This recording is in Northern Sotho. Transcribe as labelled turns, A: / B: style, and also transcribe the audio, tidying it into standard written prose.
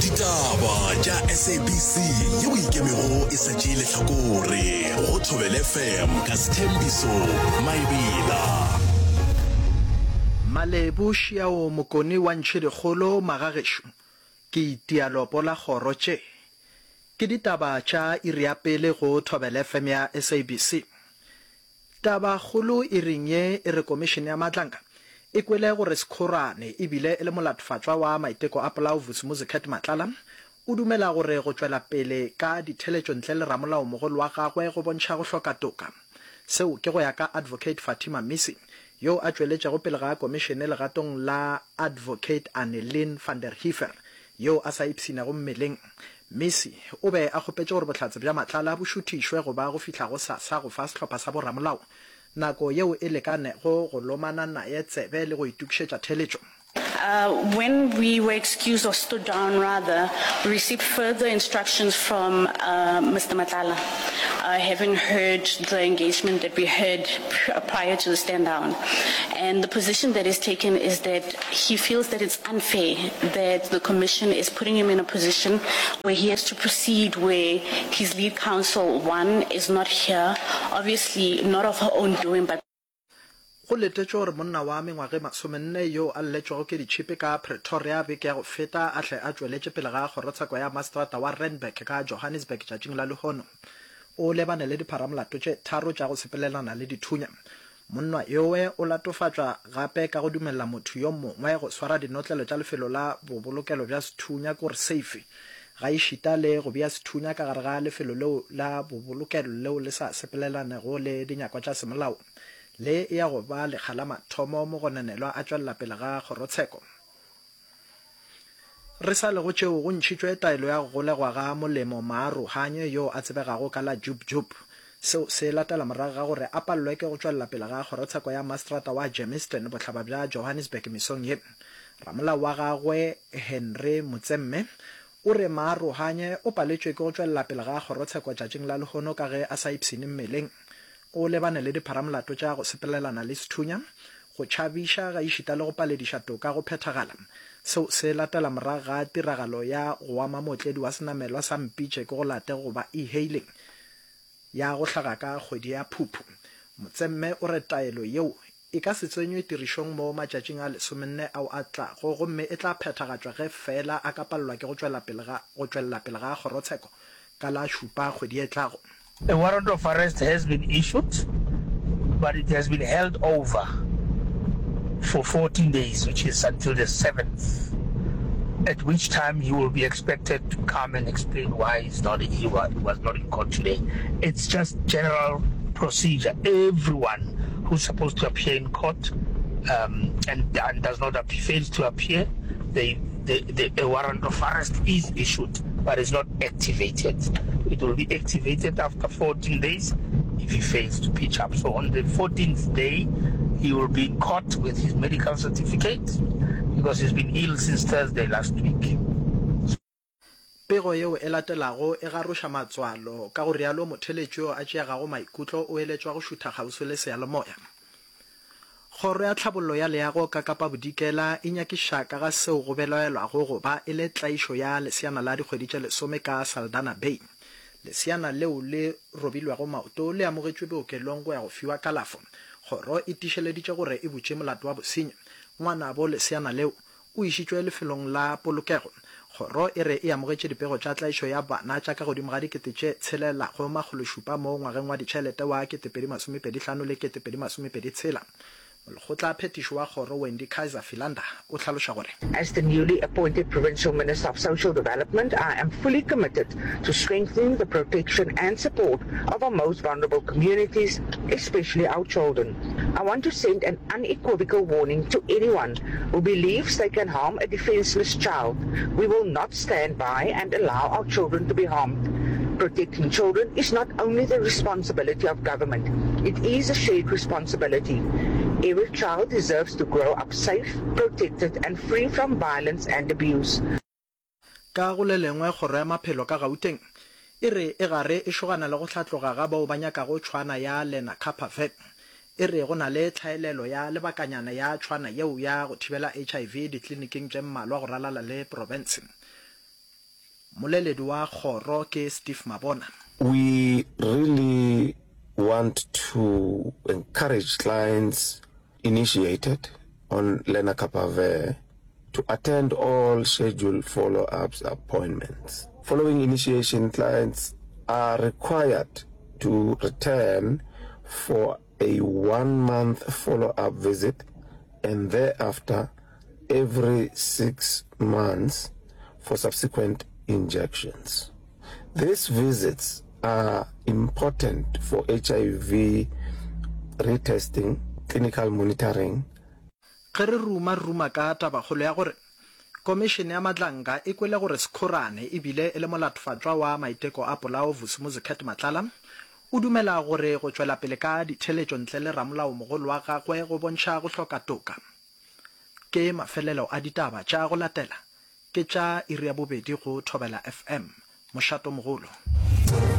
A: Ditaba tša SABC yeo e ikemego e sa tšee lehlakore go Thobela FM ka Sthembiso Maebela.
B: Malebu Šiao Mokoni wa Ntšhidikgolo Magagešo ke itia lopo la kgoro tše ke ditaba tša iri ya pele go Thobela FM ya SABC. Tabakgolo iring ye e re Komišene ya Matlanka e kwele gore Sekhorane e bile e le molatofatšwa wa maiteko a polao Vusimuzi Cat Matlala o dumela gore go tšwela pele ka ditheletšo ntle le ramolaomogolo wa gagwe go bontšha go hloka toka. Seo ke go ya ka Advocate Fatima Misi yo a tšweletšego pele ga komišene legatong la Advocate Annelien van der Heever yo a sa ipshinego mmeleng. Misi o be a kgopetše gore bohlatse bja Matlala bo šuthišwe go ba go fihla gosasa go fa sehlopha sa boramolao nako yeo e lekanego go lomana naye tsebe le go itokišetša theeletšo.
C: When we were excused or stood down rather, we received further instructions from Mister Matlala, having heard the engagement that we heard prior to the stand down. And the position that is taken is that he feels that it's unfair that the commission is putting him in a position where he has to proceed where his lead counsel, one, is not here, obviously not of her own doing but
B: Go letetšwe gore monna wa mengwaga e masomenne yo a lletšwego ke ditšhipi ka Pretoria beke ya go feta a hle a tšweletše pele ga kgorotsheko ya maseterata wa Randburg ka Johannesburg tšatšing la lehono. O lebane le dipharamolato tše tharo tša go sepelelana le dithunya. Monna yowe o latofatšwa gape ka go dumelela motho yo mongwe go swara dinotlelo tša lefelo la bobolokelo bja sethunya kore safe, gaešita le go bea sethunya ka gare ga lefelo leo la bobolokelo leo le sa sepelelanego le dinyakwa tša semolao. Le e ya go ba lekga la mathomo mogononelwa a tšwelela pele ga kgorotsheko. Re sa le go tšeo, go ntšhitšwe taelo ya go golegwa ga Molemo Maarohanye yo a tsebegago ka la Jub Jub. Seo se latela morago ga gore a palelwe ke go tšwelela pele ga kgorotsheko ya maseterata wa Germiston, bohlaba bja Johannesburg mesong ye. Ramolao wa gagwe Henry Motsemme o re Maarohanye o paletšwe ke go tšwelela pele ga kgorotsheko tšatšing la lehono ka ge a sa ipshine mmeleng. O lebane le dipharamolato tša go sepelelana le sethunya, go tšhabiša gaešita le go palediša toka go phethagala. Seo se latela morago ga tiragalo ya go ama mootledi wa senamelwa sa Mpitše ke go late goba e-hailing ya go hlaga ka kgwedi ya Phuphu. Motsemme o re taelo yeo e ka se tsenywe tirišong mo matšatšing a lesomenne ao a tlago gomme e tla phethagatšwa ge feela a ka palelwa ke go tšwela pele ga go tšwelela pele ga kgorotsheko ka la šupa kgwedi e tlago.
D: A warrant of arrest has been issued but it has been held over for 14 days which is until the 7th at which time he will be expected to come and explain why he's not he was not in court today. It's just general procedure. Everyone who's supposed to appear in court um, and, and does not appear, fails to appear, they, they, they, a warrant of arrest is issued but is not activated. It will be activated after 14 days if he fails to pitch up. So on the 14th day, he will be caught with his medical certificate because he's been ill since Thursday last week.
B: Pego yeo e latelago e garoša matswalo, ka go rialo motheeletši yo a tšeagago maikutlo o eletšwa go šutha kgauswi le seyalemoya. Kgoro ya Tlhabollo ya Leago ka Kapa Bodikela e nyakišiša ka ga seo go belaelwago go ba e le tlaišo ya leseana la dikgwedi tše lesome ka Saldanha Bay. Leseana leo le robilwego maoto le amogetšwe bookelong go ya go fiwa kalafo. Kgoro e tiišeleditše gore e butše molato wa bosenyi. Ngwanabo leseana leo o išitšwe lefelong la polokego. Kgoro e re e amogetše dipego tša tlaišo ya bana tša ka godimo ga dikete tše tshelelago makgološupa mo ngwageng wa ditšhelete wa 2025 le 2026. Molekgotla phethiši wa kgoro Wendy Kaiser Philander o hlaloša gore.
E: As the newly appointed Provincial Minister of Social Development, I am fully committed to strengthening the protection and support of our most vulnerable communities, especially our children. I want to send an unequivocal warning to anyone who believes they can harm a defenseless child. We will not stand by and allow our children to be harmed. Protecting children is not only the responsibility of government, it is a shared responsibility. Every child deserves to grow up safe, protected and free from violence and abuse.
B: Ka go le lengwe, Kgoro ya Maphelo ka Gauteng e re e gare e šogana le go hlatloga ga bao ba nyakago tšhwana ya Lenacapavir. E re go na le tlhaelelo ya lebakanyana ya tšhwana yeo ya go thibela HIV dikliniking tše mmalwa go ralala le profense. Mmoleledi wa kgoro ke Steve Mabona.
F: We really want to encourage clients initiated on Lenacapavir to attend all scheduled follow-ups appointments. Following initiation, clients are required to return for a one-month follow-up visit and thereafter every six months for subsequent injections. These visits are important for HIV retesting, clinical monitoring,
B: Ge re ruma ruma ka tabakgolo ya gore Komišene ya Madlanga e kwele gore Sekhorane e bile e le molatofatšwa wa maiteko a polao Vusimuzi Cat Matlala, o dumela gore go tšwela pele ka ditheeletšo ntle le ramolaomogolo wa gagwe go bontšha go hloka toka. Ke mafelelo a ditaba tša go latela ke tša iri ya bobedi go Thobela FM, mošatomogolo.